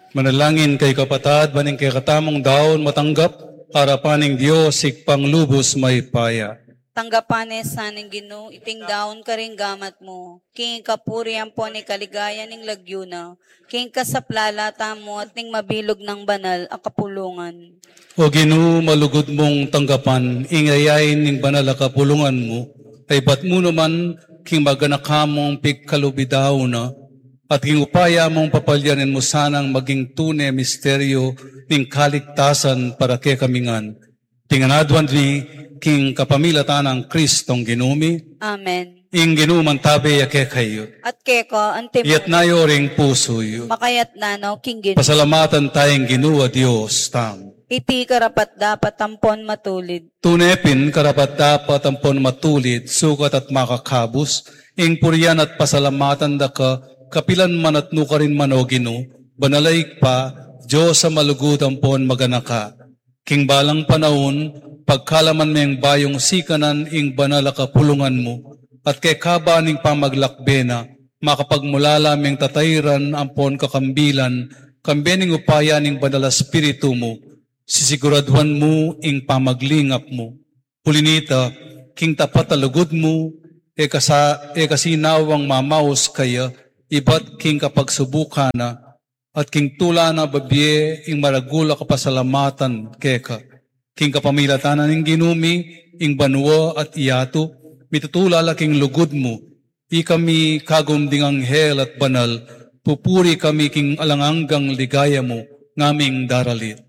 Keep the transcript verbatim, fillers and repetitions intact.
Manalangin kayu, kapatad, ban ing kekatamung daun matanggap arapan ning Dios, Ibpang lubus mayupaya. Tanggapan na sa ning Ginu iting daun karing gamat mu, king kapurian ampon ning kaligayan ning lagyu na, king kasaplalan tamu at ning mabilug nang banal a kapulungan. O Ginu, malugud mung tanggapan ing yayain ning banal a kapulungan mu, a ibat mu naman king maganaka mung pigkalubidaun na, at king upaya mung papalyanin mu sanang maging tune misteryu ning kaligtasan para kekami ngan. Iti ngan aduan mi king kapamilatan nang Kristong Ginu mi. Amen. Ing Ginu mantabe ya kekayu. At keka antimu. Iyatas yu ring pusu yu. Makayatas no king Ginu. Pasalamatan taya ing Ginu a Dios tamu. Iti karapat-dapat ampon matulid. Tune pin karapat-dapat ampon matulid, sukat at makakabus, ing purian at pasalamatan da ka, kapilan man at nukarin man, o Ginu, banal a Ibpa, Dios a malugud ampon maganaka. King balang panaun, pagkalaman meng bayung sikanan ing banal a kapulungan mu, at kekaba ning pamaglakbe na, makapagmulala meng tatairan ampon kakambilan, kambe ning upaya ning Banal a Espiritu mu, sisiguraduan mu ing pamaglingap mu. Uli nita, king tapat a lugud mu, e ka sa-, e ka sinawang mamaus kaya, ibat king kapagsubukan na, at king tula na babie ing maragul a kapasalamatan keka. King kapamilatan na ning Ginu mi, ing banua at yatu, mitutula la king lugud mu, ikami kagum ding anghel at banal, pupuri kami king alang anggang ligaya mu, ngaming daralit.